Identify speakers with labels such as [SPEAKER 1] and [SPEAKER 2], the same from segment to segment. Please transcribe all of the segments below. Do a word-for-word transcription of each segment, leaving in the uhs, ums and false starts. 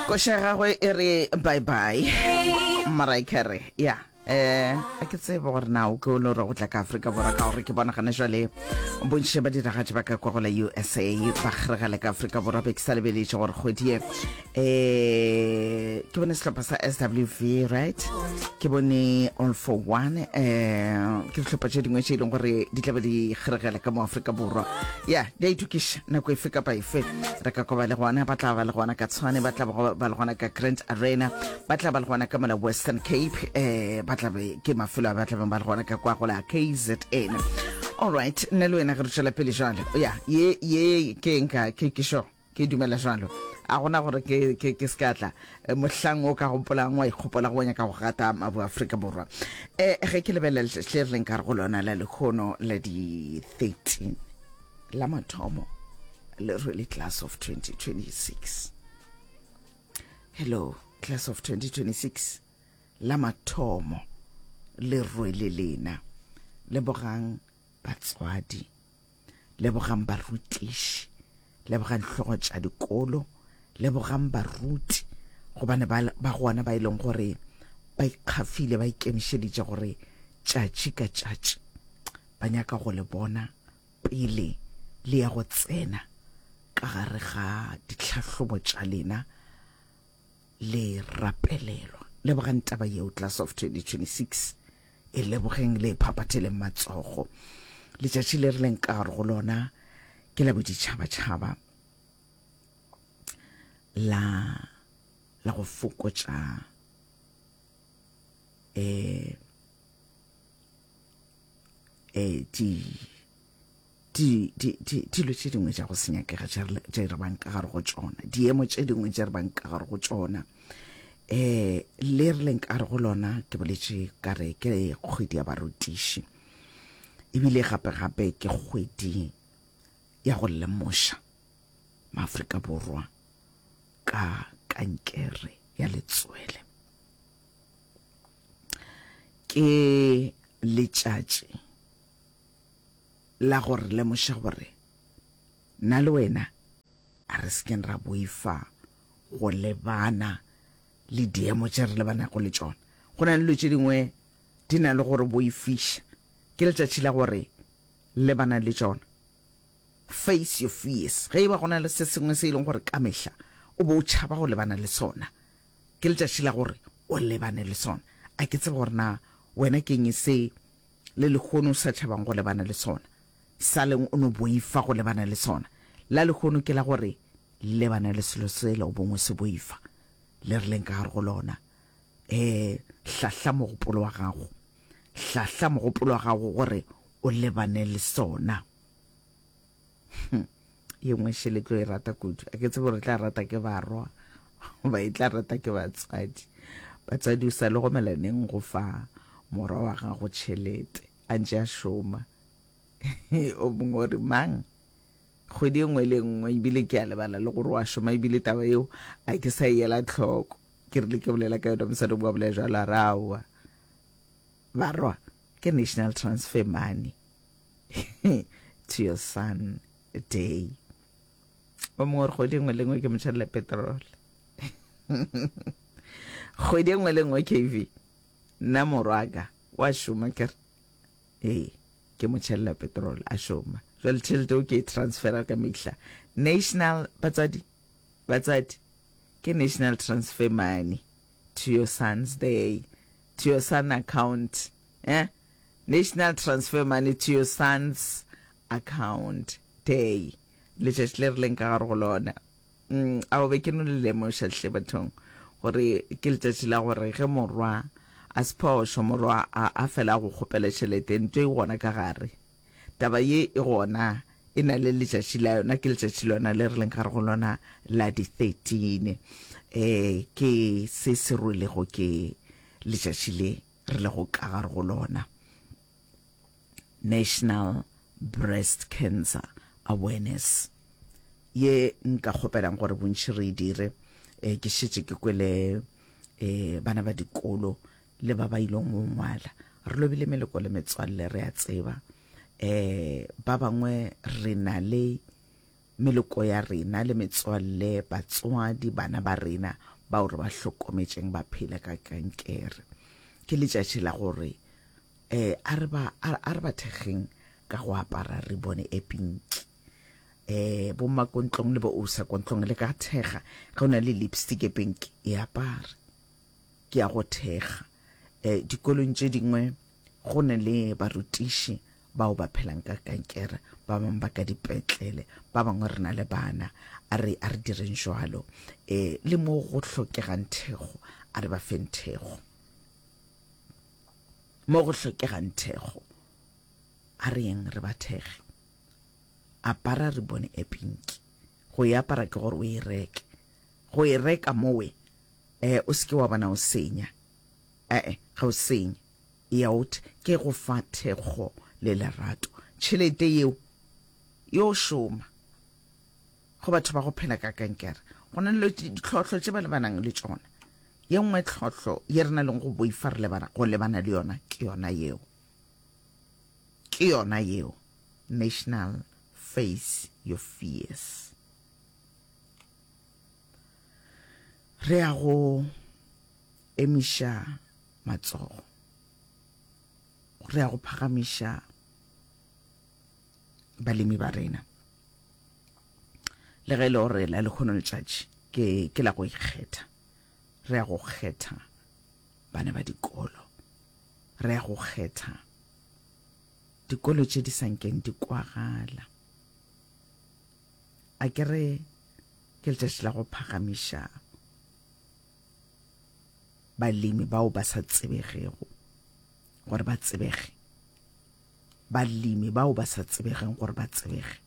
[SPEAKER 1] Koša ya gagwe e re bye bye Mariah Carey. Ya eh a ke tsebe gore na o ke o le gore go tla ka Afrika Borwa, ka gore ke bona gane jwale bontši ba diragatši ba ka kwa go la U S A ba kgeregela ka Afrika Borwa. Be ke sa lebeletše gore kgwedi ye eh ke bone sehlopha sa S W V, right? Ke bone All for One, eh ke dihlopha tše dingwe tše e leng gore di tla be di kgeregela ka mo Afrika Borwa. Ya di a itokiša, nako efe kapa efe re ka kwa ba le gona. Ba tla ba le gona ka Tshwane, ba tla ba le gona ka Grand Arena, ba tla ba le gona ka mola Western Cape, eh ba tla be ke mafelo a ba tla beng ba le gona ka kwa go la K Z N. Alright, nna le wena ge re tšwela pele jalo, ya ye ye ke nka ke ke sure ke dumela jalo, a gona gore ke ke ke se ka tla mohlang o ka gopolang wa ikgopola go nyaka go gata mabu Afrika Borwa. eh ge ke lebelela letšatši le re leng ka re go lona la lekgono la di thirteen la mathomo le rwele class of twenty twenty-six. Hello, class of twenty twenty-six, la mathomo le rwele lena. Lebogang batswadi, lebogang barutiši, lebogang hlogo tša dikolo, lebogang baruti, gobane ba ba gona ba e leng gore ba ikgafile, ba ikemišeditše gore tšatši ka tšatši ba nyaka go le bona pele le ya go tsena ka gare ga ditlhahlobo tša lena le rapelelwa. Lebogang taba yeo, class of twenty twenty-six, e lebogeng, le phaphatheleng matsogo. Letšatši le re leng ka gare go lona ke la boditšhabatšhaba la la go fokotša eh eh di di di di dilo tše dingwe tša go se nyakega tše re bang ka gare go tšona, diemo tše dingwe tše re bang ka gare go tšona. eh le re leng ka gare go lona, ke boletše ka re ke kgwedi ya barutiši, ebile gape gape ke kgwedi ya go lemoša maAfrika Borwa ka kankere ya letswele. Ke letšatši la gore lemoša gore nna le wena a re sekeng ra boifa go lebana le diemo tše re lebanago le tšona. Go na le dilo tše dingwe di na le gore boifiša, ke letšatši la gore lebana le tšona. Face your fears. Ge e ba go na le se sengwe se e leng gore ka mehla o bo o tšhaba go lebana le sona, ke letšatši la gore o lebane le sona. A ke tsebe gore na wena ke eng se le lekgono o sa tšhabang go lebana le sona, sa leng o no boifa go lebana le sona. La lekgono ke la gore lebana le selo sela o bongwe se boifa. Le re leng ka gare go lona, um hlahla mogopolo wa gago, hlahla mogopolo wa gago gore o lebane le sona. Ye nngwe šele tlo e rata kudu, a ke tsebe gore tla rata ke barwa goba e tla rata ke batswadi. Batswadi, o sa le gomela neng go fa morwa wa gago tšhelete a ntše a šoma? O mongwe o re mang kgwedi e nngwe le nngwe, ebile ke a lebala le gore wa šoma, ebile taba eo a ke sa e ela tlhoko. Ke rile ke bolela ka yona, mosadi o bolela jalo, a re aowa barwa, ke National Transfer Money to Your Son Day. O mongwe gore kgwedi e nngwe le nngwe ke motšhelela petrol kgwedi e nngwe le nngwe. K V, nna morwaka wa šoma, kere ee ke mo tšhelela petrol a šoma, jwale tšhelete o ke e transfera ka mehla. National, batswadi, batswadi, ke National Transfer Money to Your Son's Day, to your son account, eh National Transfer Money to Your Son's Account Day, letšatši le re leng ka gare go lona. mm, a be ke no le lemoša hle bathong gore ke letšatši la gore ge morwa a se phošo, morwa a, a fela go kgopela tšhelete, ntho e gona ka gare, taba ye e gona e na le letšatši la yona, ke letšatši lona le re leng gare go lona la di thirteen. eh ke se se rwelego ke letšatši le re lego ka gare go lona, National Breast Cancer Awareness, ye nka kgopelang gore bontši re e dire. eh ke šetše ke kwele eh bana ba dikolo le ba ba ileng go ngwala. Re lobile meleko le metswalle, re a tseba eh ba bangwe re na le meloko ya rena le metswalle, batswadi, bana ba rena bao re ba hlokometšeng ba phela ka kankere. Ke letšatši la gore um a re ba a re ba thekgeng ka go apara ribone e pinki. Um bomma ko ntlong le bo ousa ko ntlong le ka thekga ge o na le lipstick e pinki e apare. Ke ya go thekga. Um dikolong tše dingwe go na le barutiši bao ba phelang ka kankere, ba bangwe ba ka dipetlele, ba bangwe re na le bana. A re a re direng jwalo. Um le mo go hlokegang thekgo, a re ba feng thekgo. Mo go hlokegang thekgo, a re yeng re ba thekge. Apara ribone e pinki. Go e apara ke gore o e reke. Go e reka mowe, eh, o se ke wa bona o senya. Ee, ga o senye. E ya o ke go fa thekgo le lerato. Tšhelete yeo yo šoma go batho ba go phela ka kankere. Go na le ditlhohlo tše ba lebanang le tšona. Ye nngwe tlhohlo ye re na leng go boifa re lebana go lebana le yona ke yona yeo. Ke yona yeo. National Face Your Fears. Re ya go emiša matsogo. Re ya go phagamiša balemi ba rena. Le ge e le gore la lekgono letšatši ke ke la go ikgetha. Re ya go kgetha bana ba dikolo. Re ya go kgetha dikolo tše di sa nkeng di kwagala. A ke re ke letšatši la go phagamiša balemi bao ba sa tsebegego gore ba tsebege. Balemi bao ba sa tsebegeng gore ba tsebege.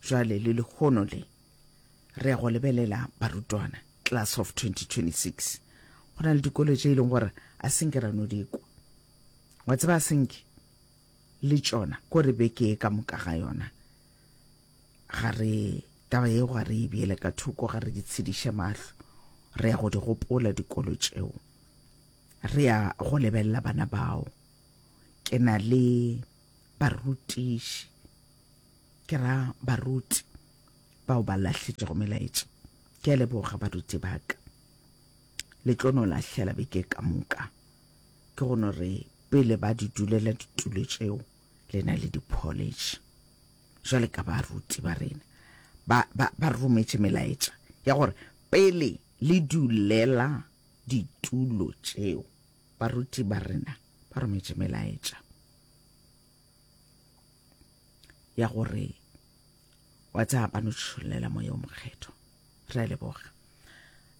[SPEAKER 1] Jwale le lekgono le re ya go lebelela barutwana class of twenty twenty-six. Go na le dikolo tše e leng gore a senke ra no di kwa. Wa tseba a senke le tšona ko re beke ka moka ga yona. Ga re taba yeo ga re e beele ka thoko, ga re di tshediše mahlo. Re ya go di gopola dikolo tšeo. Re ya go lebelela bana bao. Ke na le barutiši, ke ra baruti bao ba lahletšego melaetša. Ke a leboga baruti ba ka. Le tlo no lahlela beke ka moka. Ke go no re pele ba di dulela ditulo tšeo le na le di-college. Jwale ka baruti ba rena ba ba ba rometše melaetša ya gore pele le dulela ditulo tšeo, baruti ba rena ba rometše melaetša ya gore wa tsaya ba no tšhollela moya o mokgethwa. Re a leboga.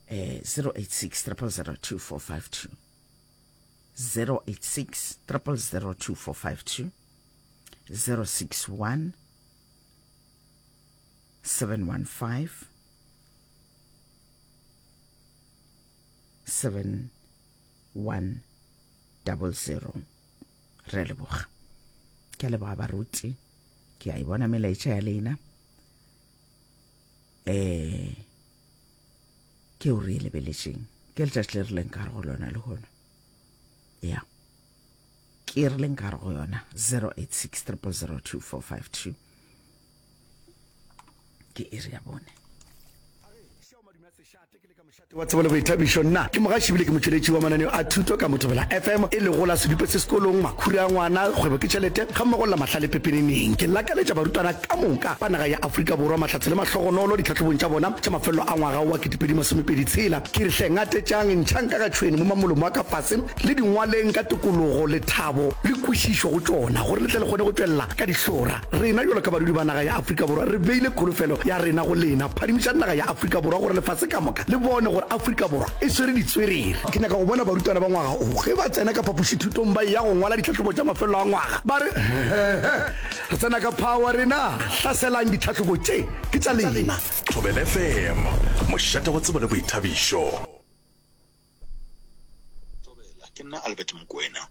[SPEAKER 1] Eh zero eight six triple zero two four five two, zero eight six triple zero two four five two, zero six one seven one five seven one double zero. Re a leboga. Ke a leboga baruti. Ke a e bona melaetša ya lena. Eh ke o re lebeletšeng. Ke letšatši le re leng ka gare go lona lehono. Ya. Ke re leng ka gare go yona zero eight six triple zero two four five two. Ke iri ya bone.
[SPEAKER 2] Wa tsebo le boithabišo. Nna ke mogaši ebile ke motšweletši wa mananeo a thuto ka Mothobela F M, e lego la Sedupe se sekolong, Makhura a ngwana, Kgwebo ke tšhelete, gammogo le la Mahlale pepeneneng. Ke lakaletša barutwana ka moka ba naga ya Afrika Borwa mahlatse le mahlogonolo ditlhahlobong tša bona tša mafelelo a ngwaga wa ketepedi masomepedi tshela. Ke re hle ngatetšang, ntšhang ka ga tšhwene mo mamolomo a ka fase, le di ngwaleng ka tokologo, lethabo le kwešišo go tšona, gore le tle le kgone go tšwelela ka dihlora. Rena bjalo ka badudi ba naga ya Afrika Borwa re beile kholofelo ya rena go lena. Phadimišang naga ya Afrika Borwa gore lefase ka moka le bone gore Afrika Borwa e swere ditswerere. Ke nyaka go bona barutwana ba ngwaga o ge ba tsena ka phapošithutong ba eya go ngwala ditlhahlobo tša mafelelo a ngwaga ba re, Hehehe, re tsena ka power rena, hlaselang ditlhahlobo tše, ke tša lena.
[SPEAKER 3] Thobela F M, mošate wa tsebo le boithabišo.
[SPEAKER 4] Thobela, ke nna Albert Mokoena.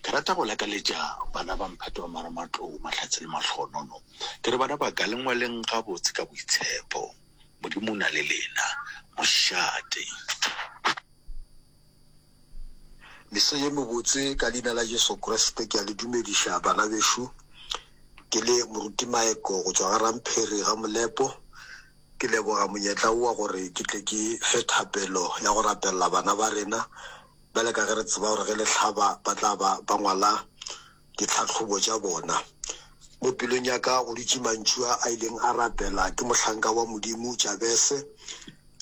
[SPEAKER 4] Ke rata go lakaletša bana ba mphato wa Marematlou mahlatse le mahlonono. Ke re bana ba ka le ngwaleng gabotse ka boitshepo. Modimo o na le lena. Mošate.
[SPEAKER 5] Meso ye mebotse ka leina la Jesu Kriste ke a le dumediša bana bešo. Ke le moruti Maeko go tšwa ga Ramphere ga Molepo. Ke leboga monyetla wo wa gore ke tle ke fe thapelo ya go rapelela bana ba rena. Bjale ka ge re tseba gore ge le hlaba ba tla ba ba ngwala ditlhahlobo tša bona. Mo pelong ya ka go dutše mantšu a a ileng a rapela ke mohlanka wa Modimo Jabese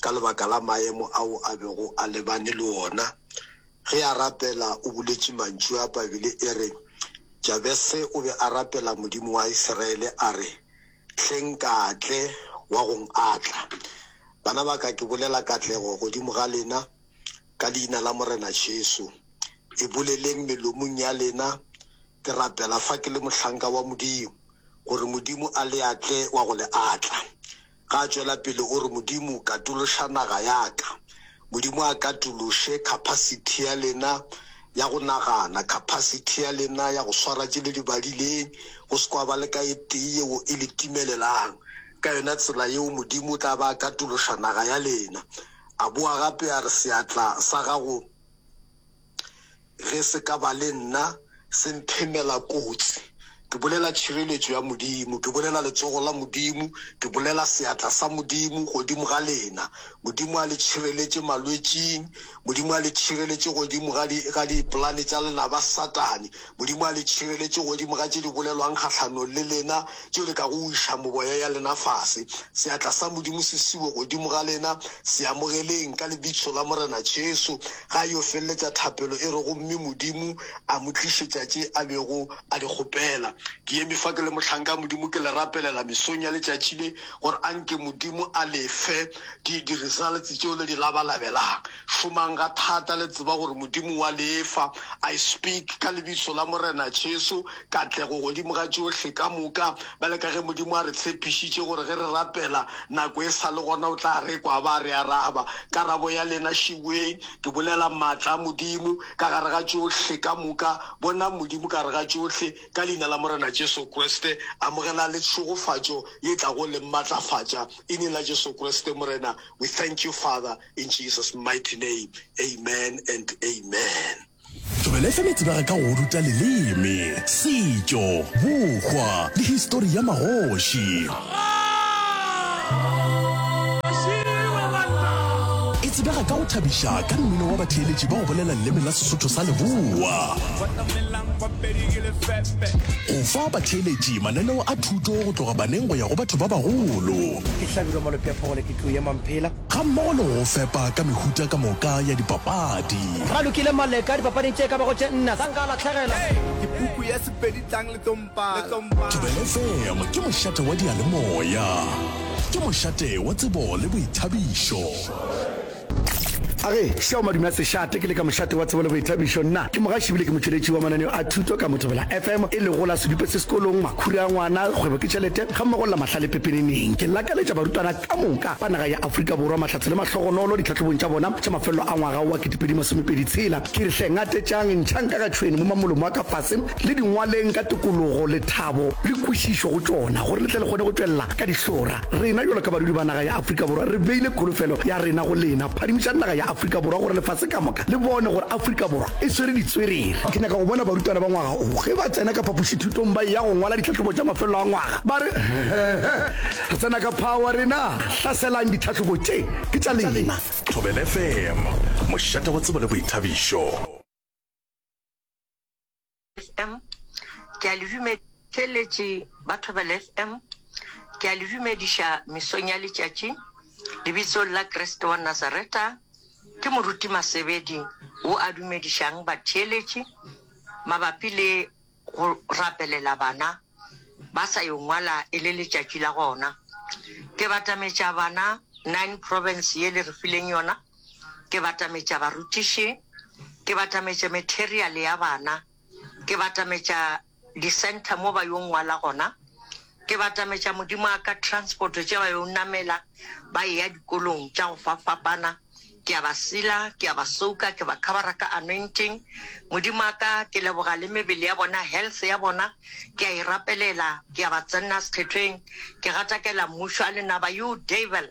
[SPEAKER 5] ka lebaka la maemo ao a bego a lebane le ona. Ge a rapela o boletše mantšu a, Babele e re, Jabese o be a rapela Modimo wa Isiraele a re, Hle nkatle wa go nkatla. Bana ba ka, ke bolela katlego godimo ga lena ka Leina la Morena Jesu. E boleleng melomong ya lena. Ke rapela fa ke le mohlanka wa Modimo, gore Modimo a le atle wa go le atla. Ga a tšwela pele o re, Modimo, katološa naga ya ka. Modimo a katološe capacity ya lena ya go nagana, capacity ya lena ya go swara tše le di badileng, go se kwa ba le ka e tee yeo e le timelelang. Ka yona tsela yeo Modimo o tla ba a katološa naga ya lena. A boa gape a re, Seatla sa gago ge se ka ba le nna, se mphemela kotsi. Ke bolela tšhireletšo ya Modimo, ke bolela letsogo la Modimo, ke bolela seatla sa Modimo godimo ga lena. Modimo a le tšhireletše malwetšing, Modimo a le tšhireletše godimo ga di, ga dipolane tša lenaba Satane, Modimo a le tšhireletše godimo ga tše di bolelwang kgahlanong le lena, tšeo di kago wiša moboya ya lena fase. Seatla sa Modimo se siwe godimo ga lena, se amogeleng ka Lebitso la Morena Jesu. Ga a yo feleletša thapelo e re, Gomme Modimo a mo tlišetša tše a bego a di kgopela. Ke eme fa ke le mohlanka wa Modimo, ke le rapelela mesong ya letšatši le, gore a nke Modimo a le fe di, di results tšeo le di labalabelang. Šomang ga thata, le tseba gore Modimo wa le fa. I speak ka Lebitso la Morena Jesu, katlego godimo ga tšohle ka moka. Bjale ka ge Modimo a re tshepišitše gore ge re rapela nako e sa le gona o tla re kwa a ba a re araba. Karabo ya lena šiweng. Ke bolela maatla a Modimo ka gare ga tšohle ka moka. Bonang Modimo ka gare ga tšohle, ka Leina la Morena Jesu Kriste. Amogelang le tšhegofatšo ye tlago le matlafatša. Ineng la Jesu Kriste, Morena, we thank you, Father, in Jesus' mighty name. Amen and amen.
[SPEAKER 3] Thobela F M e tsebega ka go ruta leleme, setšo, bohwa le histori ya magoši. E tsebega ka go thabiša ka mmino wa batheeletši ba go bolela leleme la Sesotho sa Leboa. Go fa batheeletši mananeo a thuto go tloga baneng go ya go batho ba bagolo.
[SPEAKER 6] Ke Hlabirwa Malope a Phogole ke tlou ya Mamphela.
[SPEAKER 3] Gammogo le go fepa ka mehuta ka moka ya dipapadi.
[SPEAKER 6] Ralokile Maleka dipapading tše ka bago tše nne sa nka a lahlegela.
[SPEAKER 7] Ke puku ya Sepedi tlang le tlo mpala.
[SPEAKER 3] Thobela F M ke mošate wa diyalemoya. Ke mošate wa tsebo le boithabišo.
[SPEAKER 2] A re, Šeo madume a sešate, ke le ka mošate wa tsebo le boithabišo. Nna ke mogaši ebile ke motšweletši wa mananeo a thuto ka mo Thobela F M, e lego la Sedupe se sekolong, Makhura a ngwana, Kgwebo ke tšhelete, gammogo le la Mahlale pepeneneng. Ke lakaletša barutwana ka moka ba naga ya Afrika Borwa mahlatse le mahlogonolo ditlhahlobong tša bona tša mafelelo a ngwaga wa ketepedi masomepedi tshela. Ke re hle ngatetšang, ntšhang ka ga tšhwene mo mamolomo a ka fase, le di ngwaleng ka tokologo, lethabo le kwešišo go tšona, gore le tle le kgone go tšwelela ka dihlora. Rena bjalo ka badudi ba naga ya Afrika Borwa re beile kholofelo ya rena go lena. Phadimišang naga ya Afrika Borwa gore lefase ka moka le bone gore Afrika Borwa e swere ditswerere. Ke nyaka go bona barutwana ba ngwaga wo ge ba tsena ka phapošithutong ba eya go ngwala ditlhahlobo tša mafelelo a ngwaga ba re, Re tsena ka power rena! Hlaselang ditlhahlobo tše, ke tša lena!
[SPEAKER 3] Thobela F M, mošate wa tsebo le boithabišo.
[SPEAKER 8] F M, ke a le dume Theeletši ba Thobela F M, ke a le dumediša mesong ya letšatši lebitsong la Kriste wa Nazareta. Ke Moruti Masebedi wo a dumedišang batheeletši mabapi le go rapelela bana ba sa yo ngwala e le letšatši la gona. Ke batametša bana nine province ye le re fileng yona, ke batametša barutiši, ke batametša material ya bana, ke batametša di-centre mo ba yo ngwala gona, ke batametša Modimo a ka transport tše ba yo namela ba eya dikolong tša go fapfapana, ke a ba sila, ke a ba soka, ke ba covera ka anointing. Modimo a ka, ke leboga le mebele ya bona, health ya bona, ke a e rapelela, ke a ba tsenna sekgethweng, ke gatakela mmušo a lenaba, you devil,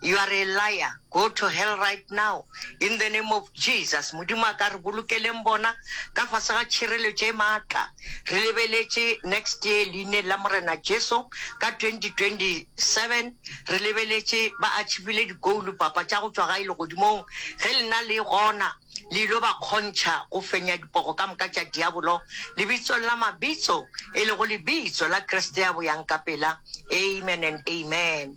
[SPEAKER 8] you are a liar, Go to hell right now in the name of Jesus. Modimo a ka re bolokeleng bona ka fase ga tšhireletšo e maatla. Re lebeletše next year leineng la Morena Jesu ka twenty twenty seven re lebeletše ba achievile di-goal papa tša go tšwa gae legodimong ge lena le gona le ilo ba kgontšha go fenya dipogo ka moka tša diabolo lebitsong la mabitso e lego lebitso la Kriste ya boyang ka pela. Amen and amen.